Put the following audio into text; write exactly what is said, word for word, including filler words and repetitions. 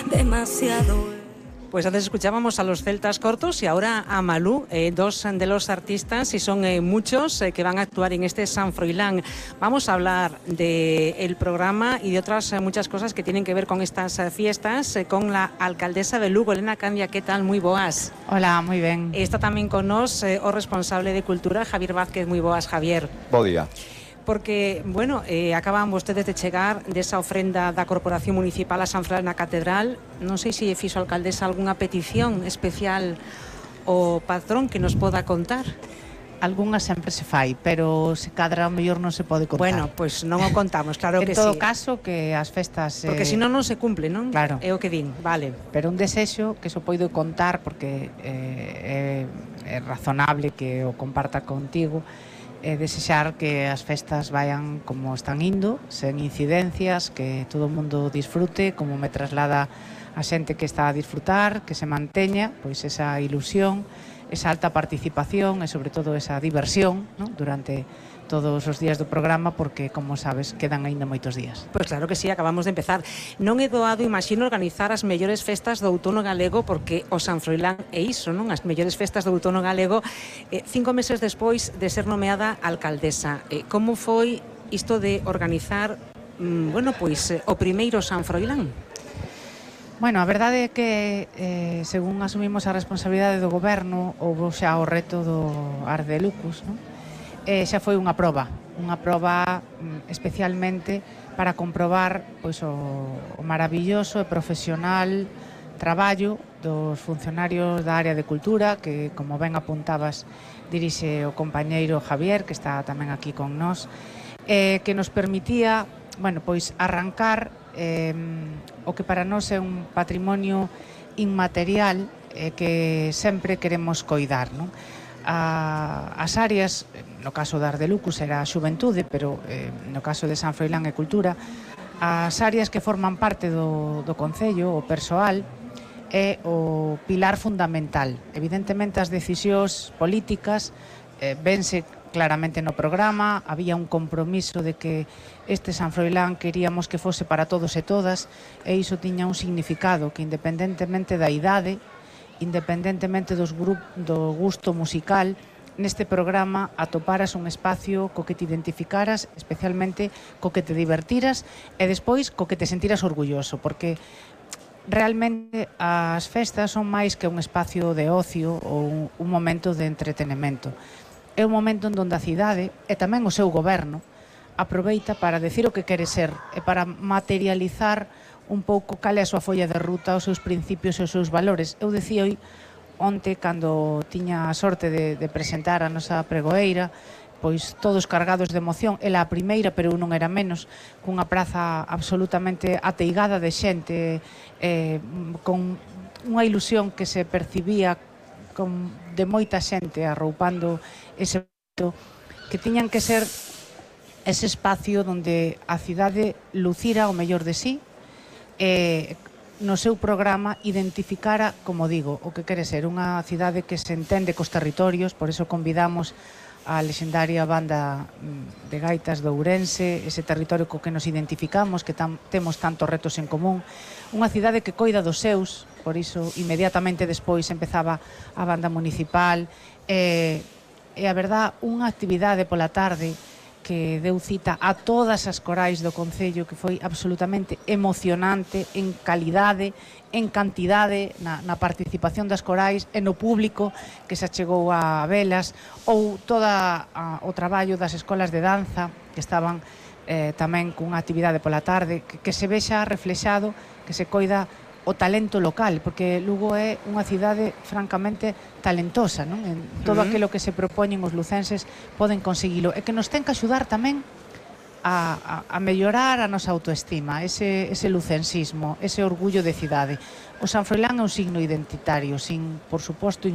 demasiado. Pues antes escuchábamos a los Celtas Cortos y ahora a Malú, eh, dos de los artistas, y son eh, muchos eh, que van a actuar en este San Froilán. Vamos a hablar del programa y de otras eh, muchas cosas que tienen que ver con estas eh, fiestas, eh, con la alcaldesa de Lugo, Elena Candia. ¿Qué tal? Muy boas. Hola, muy ben. Está tamén con nos eh, o responsable de Cultura, Javier Vázquez. Muy boas, Javier. Bo día. Porque, bueno, eh, acaban vostedes de chegar desa ofrenda da Corporación Municipal a San Froilán na Catedral. Non sei se fixo a alcaldesa algunha petición especial ao patrón que nos poda contar. Algunha sempre se fai, pero se cadra o mellor non se pode contar. Bueno, pois pues non o contamos, claro que sí. En todo caso, que as festas... Porque eh... senón non se cumple, non? Claro. É o que din, vale. Pero un desexo que so poido contar, porque eh, é, é razonable que o comparta contigo, é desexar que as festas vayan como están indo, sen incidencias, que todo o mundo disfrute, como me traslada a xente que está a disfrutar, que se manteña pois esa ilusión, esa alta participación e sobre todo esa diversión, ¿no?, durante todos os días do programa, porque, como sabes, quedan aínda moitos días. Pois claro que sí, acabamos de empezar. Non é doado, imagino, organizar as mellores festas do outono galego, porque o San Froilán é iso, non? As mellores festas do outono galego, eh, cinco meses despois de ser nomeada alcaldesa. Eh, como foi isto de organizar, mm, bueno, pois, eh, o primeiro San Froilán? Bueno, a verdade é que, eh, según asumimos a responsabilidade do goberno, houve xa o reto do Ardelucus, non? Eh, xa foi unha proba, unha proba mm, especialmente para comprobar pois, o, o maravilloso e profesional traballo dos funcionarios da área de cultura, que, como ben apuntabas, dirixe o compañeiro Javier, que está tamén aquí con nós, eh, que nos permitía, bueno, pois arrancar eh, o que para nós é un patrimonio inmaterial eh, que sempre queremos coidar, non? A, as áreas, no caso da Ardelucus era a xuventude, pero eh, no caso de San Froilán e Cultura, as áreas que forman parte do, do Concello, o persoal, é o pilar fundamental. Evidentemente as decisións políticas eh, vense claramente no programa, había un compromiso de que este San Froilán queríamos que fose para todos e todas, e iso tiña un significado que, independentemente da idade, independentemente dos grup, do gusto musical, neste programa atoparas un espacio co que te identificaras, especialmente co que te divertiras e despois co que te sentiras orgulloso, porque realmente as festas son máis que un espacio de ocio ou un, un momento de entretenimento. É un momento en donde a cidade e tamén o seu goberno aproveita para decir o que quere ser e para materializar un pouco cal é a súa folla de ruta, os seus principios e os seus valores. Eu decía hoy, onte, cando tiña a sorte de, de presentar a nosa pregoeira, pois todos cargados de emoción, ela a primeira, pero eu non era menos, cunha praza absolutamente ateigada de xente, eh, con unha ilusión que se percibía con, de moita xente arroupando ese momento, que tiñan que ser ese espacio onde a cidade lucira o mellor de sí, eh, no seu programa identificara, como digo, o que quere ser unha cidade que se entende cos territorios. Por eso convidamos a lexendaria banda de gaitas de Ourense, ese territorio co que nos identificamos, que tam, temos tantos retos en común, unha cidade que coida dos seus. Por iso inmediatamente despois empezaba a banda municipal, e, e a verdad, unha actividade pola tarde que deu cita a todas as corais do Concello, que foi absolutamente emocionante en calidade, en cantidade, na, na participación das corais e no público que se achegou a velas, ou todo o traballo das escolas de danza que estaban eh, tamén cunha actividade pola tarde, que, que se vexa reflexado, que se coida o talento local, porque Lugo é unha cidade francamente talentosa, non? En todo uh -huh. aquilo que se propoñen os lucenses poden conseguilo, e que nos ten que axudar tamén a, a, a mellorar a nosa autoestima, ese, ese lucensismo, ese orgullo de cidade. O San Froilán é un signo identitario, sin, por suposto,